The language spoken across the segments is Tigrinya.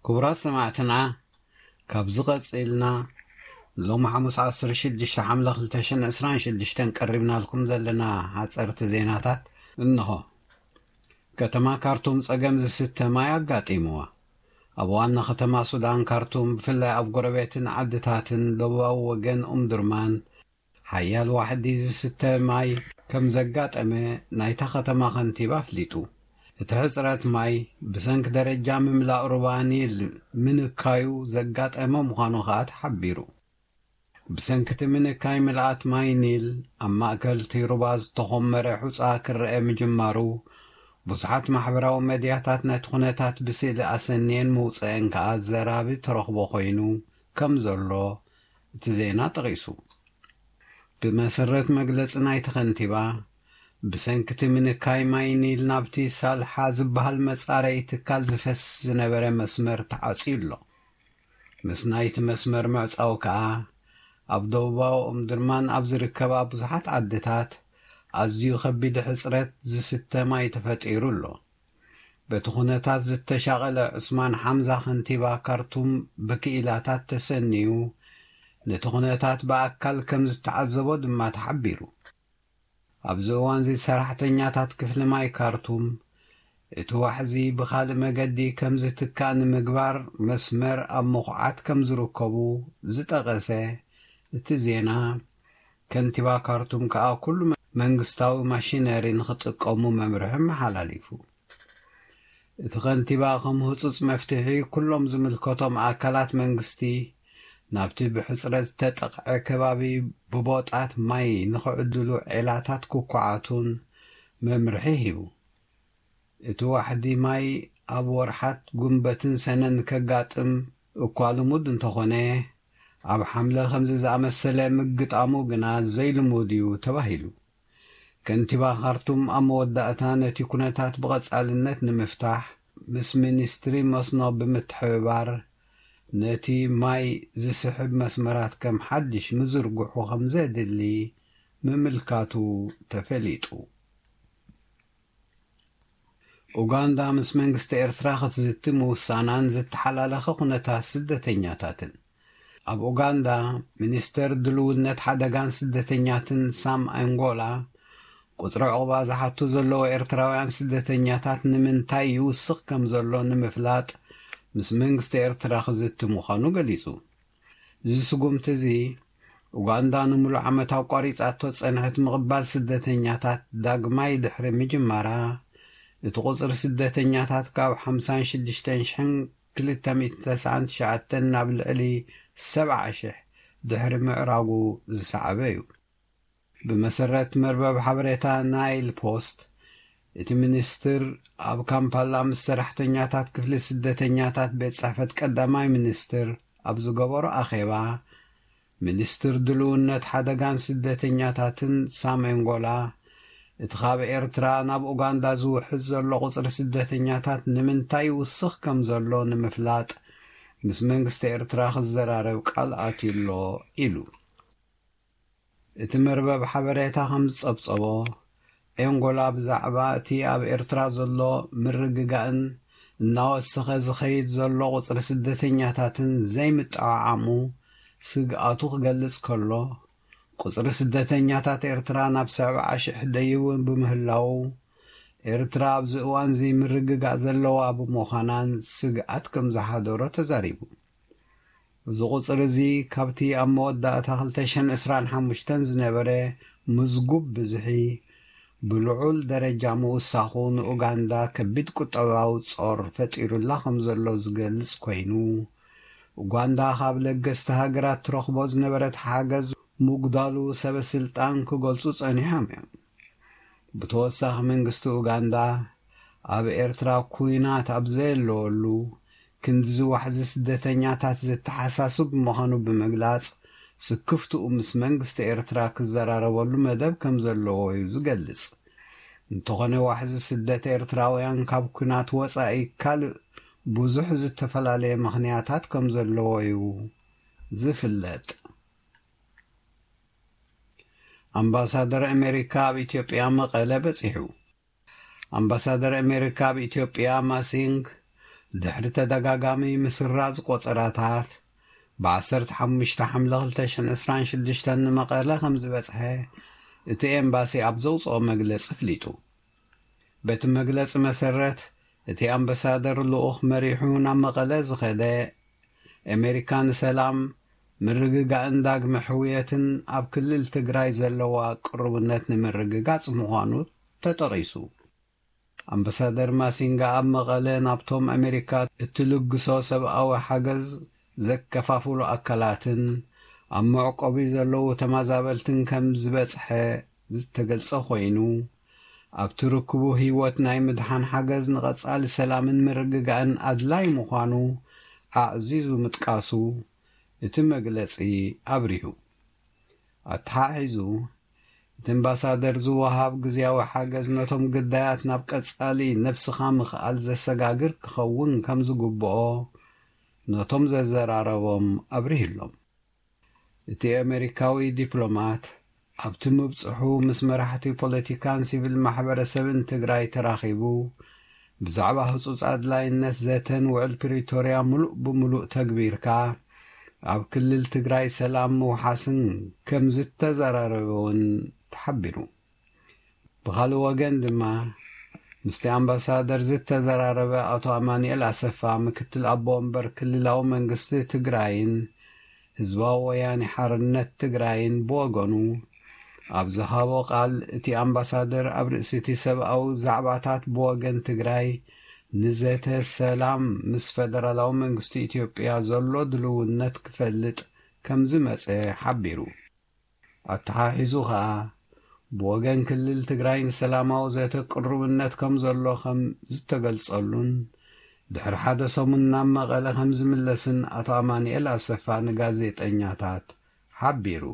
ክቡራት ሰማዕትና፣ ካብዚ ቀጺልና ሎሚ ሓሙስ ዓሰርተ ሽዱሽተ ሓምለ ክልተ ሽሕን ዕስራን ሽዱሽተን ቀሪብናልኩም ዘለና ሓጸርቲ ዜናታት እንሆ። ከተማ ካርቱም ጸገም ዝስተ ማይ ኣጋጢምዋ። ኣብ ዋና ከተማ ሱዳን ካርቱም፣ ብፍላይ ኣብ ጎረቤትን ዓድታትን ደቡባዊ ወገን ኡምዱርማን፣ ሓያል ዋሕዲ ዝስተ ማይ ከም ዘጋጠመ ናይታ ከተማ ከንቲባ ኣፍሊጡ። እቲ ሕጽረት ማይ ብሰንኪ ደረጃ ምምላእ ሩባ ኒል ምንካዩ ዘጋጠመ ምዃኑ ከኣ ተሓቢሩ። ብሰንኪ እቲ ምንካይ ምልኣት ማይ ኒል ኣብ ማእከል እቲ ሩባ ዝተኾመረ ሑጻ ክረአ ምጅማሩ፣ ብዙሓት ማሕበራዊ መድያታት ነቲ ኩነታት ብስእሊ ኣሰንየን ምውጸአን ከኣ ዘራቢ ተረኽቦ ኮይኑ ከም ዘሎ እቲ ዜና ጠቒሱ። ብመሰረት መግለጺ ናይቲ ከንቲባ፣ ብሰንኪ እቲ ምንካይ ማይ ኒል ናብቲ ሳልሓ ዝበሃል መጻረዪ ትካል ዝፈስስ ዝነበረ መስመር ተዓጽዩ ኣሎ። ምስ ናይቲ መስመር ምዕጻው ከኣ፣ ኣብ ደቡባዊ ኦምድርማን ኣብ ዝርከባ ብዙሓት ዓድታት ኣዝዩ ከቢድ ሕጽረት ዝስተ ማይ ተፈጢሩ ኣሎ። በቲ ኩነታት ዝተሻቐለ ዑስማን ሓምዛ፣ ከንቲባ ካርቱም፣ ብክኢላታት ተሰንዩ፣ ነቲ ኩነታት ብኣካል ከም ዝተዓዘቦ ድማ ተሓቢሩ። ኣብዚ እዋንዚ ሰራሕተኛታት ክፍሊ ማይ ካርቱም፣ እቲ ዋሕዚ ብኻልእ መገዲ ከም ዝትካእ ንምግባር መስመር ኣብ ምኹዓት ከም ዝርከቡ ዝጠቐሰ እቲ ዜና፣ ከንቲባ ካርቱም ከኣ ኩሉ መንግስታዊ ማሽነሪ ንኽጥቀሙ መምርሒ ኣመሓላሊፉ። እቲ ከንቲባ ከም ህጹጽ መፍትሒ፣ ኩሎም ዝምልከቶም ኣካላት መንግስቲ ናብቲ ብሕጽረት ዝተጠቕዐ ከባቢ ብቦጣት ማይ ንኽዕድሉ ዔላታት ክኳዓቱን መምርሒ ሂቡ። እቲ ዋሕዲ ማይ ኣብ ወርሓት ጉንበትን ሰነን ከጋጥም እኳ ልሙድ እንተኾነ፣ ኣብ ሓምለ ከምዚ ዝኣመሰለ ምግጣሙ ግና ዘይልሙድ እዩ ተባሂሉ። ከንቲባ ካርቱም ኣብ መወዳእታ፣ ነቲ ኩነታት ብቐጻልነት ንምፍታሕ ምስ ሚኒስትሪ መስኖ ብምትሕብባር፣ ነቲ ማይ ዝስሕብ መስመራት ከም ሓድሽ ምዝርግሑ ከም ዘድሊ ምምልካቱ ተፈሊጡ። ኡጋንዳ ምስ መንግስቲ ኤርትራ ክትዝቲ ምውሳናን ዝተሓላለኸ ኩነታት ስደተኛታትን። ኣብ ኡጋንዳ፣ ሚኒስተር ድልውነት ሓደጋን ስደተኛትን ሳም ኣንጎላ፣ ቁጽሪ ዕቑባ ዝሓቱ ዘለዉ ኤርትራውያን ስደተኛታት ንምንታይ ይውስኽ ከም ዘሎ ንምፍላጥ ምስ መንግስቲ ኤርትራ ክዝቲ ምዃኑ ገሊጹ። እዚ ስጉምቲ እዚ፣ ኡጋንዳ ንምሉእ ዓመት ኣቋሪጻቶ ጸንሐት ምቕባል ስደተኛታት ዳግማይ ድሕሪ ምጅማራ፣ እቲ ቁጽሪ ስደተኛታት ካብ ሓምሳን ሽዱሽተን ሽሕን ክልተ ሚእትን ተስዓን ትሽዓተን ናብ ልዕሊ ሰብዓ ሽሕ ድሕሪ ምዕራጉ ዝሰዓበ እዩ። ብመሰረት መርበብ ሓበሬታ ናይል ፖስት፣ እቲ ሚኒስትር ኣብ ካምፓላ ምስ ሰራሕተኛታት ክፍሊ ስደተኛታት ቤት ጽሕፈት ቀዳማይ ሚኒስትር ኣብ ዝገበሮ ኣኼባ፣ ሚኒስትር ድልውነት ሓደጋን ስደተኛታትን ሳም ኣንጎላ፣ እቲ ካብ ኤርትራ ናብ ኡጋንዳ ዝውሕዝ ዘሎ ቁጽሪ ስደተኛታት ንምንታይ ይውስኽ ከም ዘሎ ንምፍላጥ ምስ መንግስቲ ኤርትራ ክዘራረብ ቃል ኣትዩ ኣሎ ኢሉ። እቲ መርበብ ሓበሬታ ከም ዝጸብጸቦ፣ ኣንጎላ ብዛዕባ እቲ ኣብ ኤርትራ ዘሎ ምርግጋእን እናወሰኸ ዝኸይድ ዘሎ ቁጽሪ ስደተኛታትን ዘይምጥዕዓሙ ስግኣቱ ክገልጽ ከሎ፣ ቁጽሪ ስደተኛታት ኤርትራ ናብ ሰብዓ ሽሕ ደይቡ ብምህላዉ፣ ኤርትራ ኣብዚ እዋንዚ ምርግጋእ ዘለዋ ብምዃናን ስግኣት ከም ዝሓደሮ ተዛሪቡ። እዚ ቁጽሪ እዚ ካብቲ ኣብ መወዳእታ ክልተ ሽሕን ዕስራን ሓሙሽተን ዝነበረ ምዝጉብ ብዝሒ ብልዑል ደረጃ ምውሳኹ ንኡጋንዳ ከቢድ ቁጠባዊ ጾር ፈጢሩላ ከም ዘሎ ዝገልጽ ኮይኑ፣ ኡጋንዳ ካብ ለገስቲ ሃገራት ትረኽቦ ዝነበረት ሓገዝ ምጉዳሉ ሰበ ስልጣን ክገልጹ ጸኒሖም እዮም። ብተወሳኺ መንግስቲ ኡጋንዳ ኣብ ኤርትራ ኩናት ኣብ ዘየለወሉ ክንድዚ ዋሕዚ ስደተኛታት ዘተሓሳስብ ምዃኑ ብምግላጽ፣ ስክፍትኡ ምስ መንግስቲ ኤርትራ ክዘራረበሉ መደብ ከም ዘለዎ እዩ ዝገልጽ። እንተኾነ ዋሕዚ ስደት ኤርትራውያን ካብ ኩናት ወጻኢ ካልእ ብዙሕ ዝተፈላለየ ምኽንያታት ከም ዘለዎ እዩ ዝፍለጥ። ኣምባሳደር ኣሜሪካ ኣብ ኢትዮጵያ መቐለ በጺሑ። ኣምባሳደር ኣሜሪካ ኣብ ኢትዮጵያ ማሲንግ ድሕሪ ተደጋጋሚ ምስራዝ ቆጸራታት፣ ብ15 ሓምለ 2026 ንመቐለ ከም ዝበጽሐ እቲ ኤምባሲ ኣብ ዘውጽኦ መግለጺ ኣፍሊጡ። በቲ መግለጺ መሰረት፣ እቲ ኣምባሳደር ልኡኽ መሪሑ ናብ መቐለ ዝኸደ፣ ኣሜሪካ ንሰላም፣ ምርግጋእን ዳግመ ሕውየትን ኣብ ክልል ትግራይ ዘለዋ ቅርቡነት ንምርግጋጽ ምዃኑ ተጠቒሱ። ኣምባሳደር ማሲንጋ ኣብ መቐለ ናብቶም ኣሜሪካ እትልግሶ ሰብኣዊ ሓገዝ ዘከፋፍሉ ኣካላትን ኣብ መዕቆቢ ዘለዉ ተመዛበልትን ከም ዝበጽሐ ዝተገልጸ ኮይኑ፣ ኣብቲ ርክቡ ህይወት ናይ ምድሓን ሓገዝ ንቐጻሊ ሰላምን ምርግጋእን ኣድላይ ምዃኑ ኣዕዚዙ ምጥቃሱ እቲ መግለጺ ኣብሪሁ። ኣተሓሒዙ፣ እቲ ኣምባሳደር ዝወሃብ ግዝያዊ ሓገዝ ነቶም ግዳያት ናብ ቀጻሊ ነብስኻ ምኽኣል ዘሰጋግር ክኸውን ከም ዝግብኦ ነቶም ዘዘራረቦም ኣብሪህሎም። እቲ ኣሜሪካዊ ዲፕሎማት ኣብቲ ምብጽሑ ምስ መራሕቲ ፖለቲካን ሲቪል ማሕበረሰብን ትግራይ ተራኺቡ፣ ብዛዕባ ህጹጽ ኣድላይነት ዘተን ውዕል ፕሪቶርያ ምሉእ ብምሉእ ተግቢርካ ኣብ ክልል ትግራይ ሰላም ምውሓስን ከም ዝተዘራረበ እውን ተሓቢሩ። ብኻልእ ወገን ድማ፣ ምስቲ ኣምባሳደር ዝተዘራረበ ኣቶ ኣማኑኤል ኣሰፋ፣ ምክትል ኣቦ ወንበር ክልላዊ መንግስቲ ትግራይን ህዝባዊ ወያኔ ሓርነት ትግራይን ብወገኑ ኣብ ዝሃቦ ቃል፣ እቲ ኣምባሳደር ኣብ ርእሲ እቲ ሰብኣዊ ዛዕባታት ብወገን ትግራይ ንዘተ ሰላም ምስ ፈደራላዊ መንግስቲ ኢትዮጵያ ዘሎ ድልውነት ክፈልጥ ከም ዝመጸ ሓቢሩ። ኣተሓሒዙ ከኣ፣ ብወገን ክልል ትግራይ ንሰላማዊ ዘተ ቅሩብነት ከም ዘሎ ከም ዝተገልጸሉን፣ ድሕሪ ሓደ ሰሙን ናብ መቐለ ከም ዝምለስን ኣቶ ኣማኑኤል ኣሰፋ ንጋዜጠኛታት ሓቢሩ።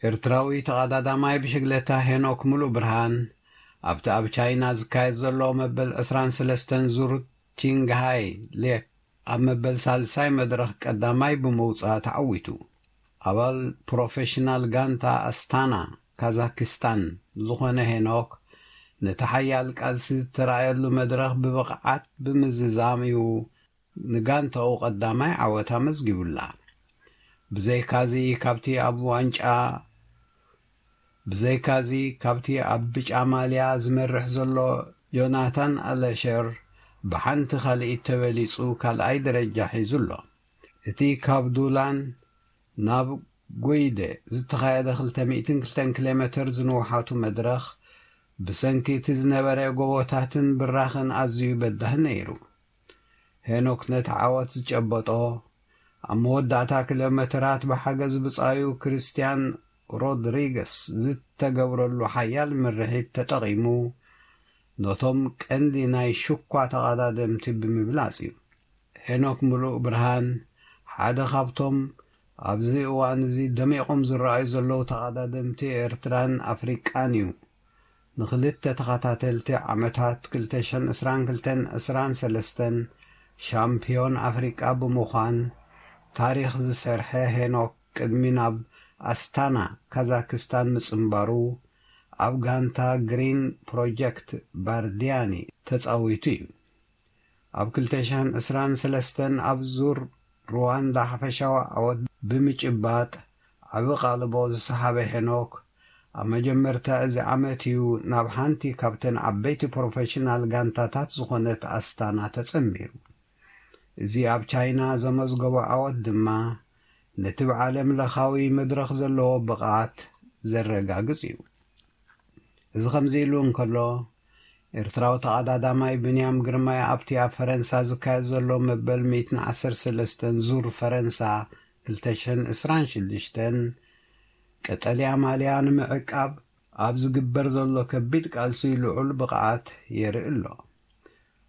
ኤርትራዊ ተቐዳዳማይ ብሽግለታ ሄኖክ ሙሉእ ብርሃን፣ ኣብቲ ኣብ ቻይና ዝካየድ ዘሎ መበል ዕስራን ሰለስተን ዙር ቺንግሃይ ሌክ ኣብ መበል ሳልሳይ መድረኽ ቀዳማይ ብምውጻእ ተዓዊቱ። ኣባል ፕሮፌሽናል ጋንታ ኣስታና ካዛክስታን ዝኾነ ሄኖክ፣ ነቲ ሓያል ቃልሲ ዝተራእየሉ መድረኽ ብብቕዓት ብምዝዛም እዩ ንጋንታኡ ቀዳማይ ዓወት ኣመዝጊቡላ። ብዘይካዚ፣ ካብቲ ኣብ ዋንጫ ብዘይካዚ፣ ካብቲ ኣብ ብጫ ማልያ ዝመርሕ ዘሎ ዮናታን ኣለሸር፣ ብሓንቲ ካልኢት ተበሊጹ ካልኣይ ደረጃ ሒዙ ኣሎ። እቲ ካብ ዱላን ናብ ጎይደ ዝተኻየደ ክልተ ሚእትን ክልተን ኪሎ ሜተር ዝንውሓቱ መድረኽ፣ ብሰንኪ እቲ ዝነበረ ጎቦታትን ብራኸን ኣዝዩ በዳሂ ነይሩ። ሄኖክ ነቲ ዓወት ዝጨበጦ፣ ኣብ መወዳእታ ኪሎ ሜተራት ብሓገዝ ብጻዩ ክርስትያን ሮድሪገስ ዝተገብረሉ ሓያል ምርሒት ተጠቒሙ፣ ነቶም ቀንዲ ናይ ሽኳ ተቐዳደምቲ ብምብላጽ እዩ። ሄኖክ ሙሉእ ብርሃን ሓደ ካብቶም ኣብዚ እዋን እዚ ደሚቖም ዝረኣዩ ዘለዉ ተቐዳደምቲ ኤርትራን ኣፍሪቃን እዩ። ንኽልተ ተኸታተልቲ ዓመታት፣ ክልተሽሕን ዕስራን ክልተን ዕስራን ሰለስተን ሻምፒዮን ኣፍሪቃ ብምዃን ታሪኽ ዝሰርሐ ሄኖክ፣ ቅድሚ ናብ ኣስታና ካዛክስታን ምጽንባሩ፣ ኣብ ጋንታ ግሪን ፕሮጀክት ባርዲያኒ ተጻዊቱ እዩ። ኣብ ክልተሽሕን ዕስራን ሰለስተን ኣብ ዙር ሩዋንዳ ሓፈሻዊ ዓወት ብምጭባጥ ዓቢ ቃልቦ ዝሰሓበ ሄኖክ፣ ኣብ መጀመርታ እዚ ዓመት እዩ ናብ ሓንቲ ካብተን ዓበይቲ ፕሮፌሽናል ጋንታታት ዝኾነት ኣስታና ተጸንቢሩ። እዚ ኣብ ቻይና ዘመዝገቦ ዓወት ድማ፣ ነቲ ብዓለም ለኻዊ መድረኽ ዘለዎ ብቕዓት ዘረጋግጽ እዩ። እዚ ከምዚ ኢሉ እንከሎ፣ ኤርትራዊ ተቐዳዳማይ ብንያም ግርማይ ኣብቲ ኣብ ፈረንሳ ዝካየድ ዘሎ መበል ሚእትን ዓሰርተ ሰለስተን ዙር ፈረንሳ ክልተ ሽሕን ዕስራን ሽዱሽተን ቀጠልያ ማልያ ንምዕቃብ ኣብ ዝግበር ዘሎ ከቢድ ቃልሲ ልዑል ብቕዓት የርኢ ኣሎ።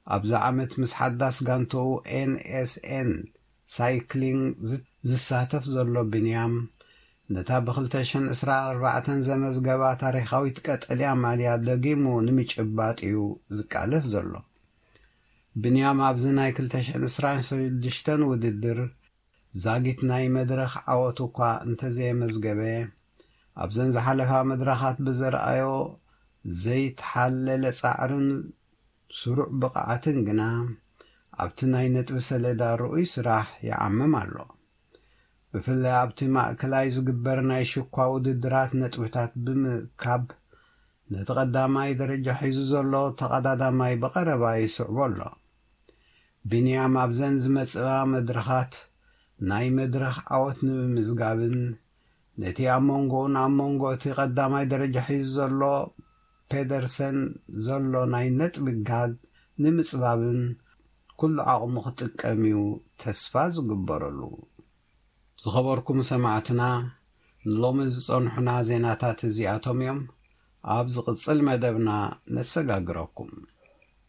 ኣብዚ ዓመት ምስ ሓዳስ ጋንታኡ ኤን ኤስ ኤን ሳይክሊንግ ዝ-፣ ዝሳተፍ ዘሎ ብንያም፣ ነታ ብ ክልተ ሽሕን ዕስራን ኣርባዕተን ዘመዝገባ ታሪኻዊት ቀጠልያ ማልያ ደጊሙ ንምጭባጥ እዩ ዝቃለስ ዘሎ። ብንያም ኣብዚ ናይ ክልተ ሽሕን ዕስራን ሽዱሽተን ውድድር ዛጊት ናይ መድረኽ ዓወት እኳ እንተዘየመዝገበ፣ ኣብዘን ዝሓለፋ መድረኻት ብዘርኣዮ ዘይተሓለለ ጻዕርን ስሩዕ ብቕዓትን ግና ኣብቲ ናይ ነጥቢ ሰሌዳ ርኡይ ስራሕ ይዓምም ኣሎ። ብፍላይ ኣብቲ ማእከላይ ዝግበር ናይ ሽኳ ውድድራት ነጥብታት ብምእካብ ነቲ ቀዳማይ ደረጃ ሒዙ ዘሎ ተቐዳዳማይ ብቐረባ ይስዕቦ ኣሎ። ቢንያም ኣብዘን ዝመጽኣ መድረኻት ናይ መድረኽ ዓወት ንምምዝጋብን ነቲ ኣብ መንጎኡን ኣብ መንጎ እቲ ቀዳማይ ደረጃ ሒዙ ዘሎ ፔደርሰን ዘሎ ናይ ነጥቢ ጋግ ንምጽባብን ኩሉ ዓቕሙ ክጥቀም እዩ ተስፋ ዝግበረሉ። ዝኸበርኩም ሰማዕትና፣ ንሎሚ ዝጸንሑና ዜናታት እዚኣቶም እዮም። ኣብ ዝቕጽል መደብና ነሰጋግረኩም።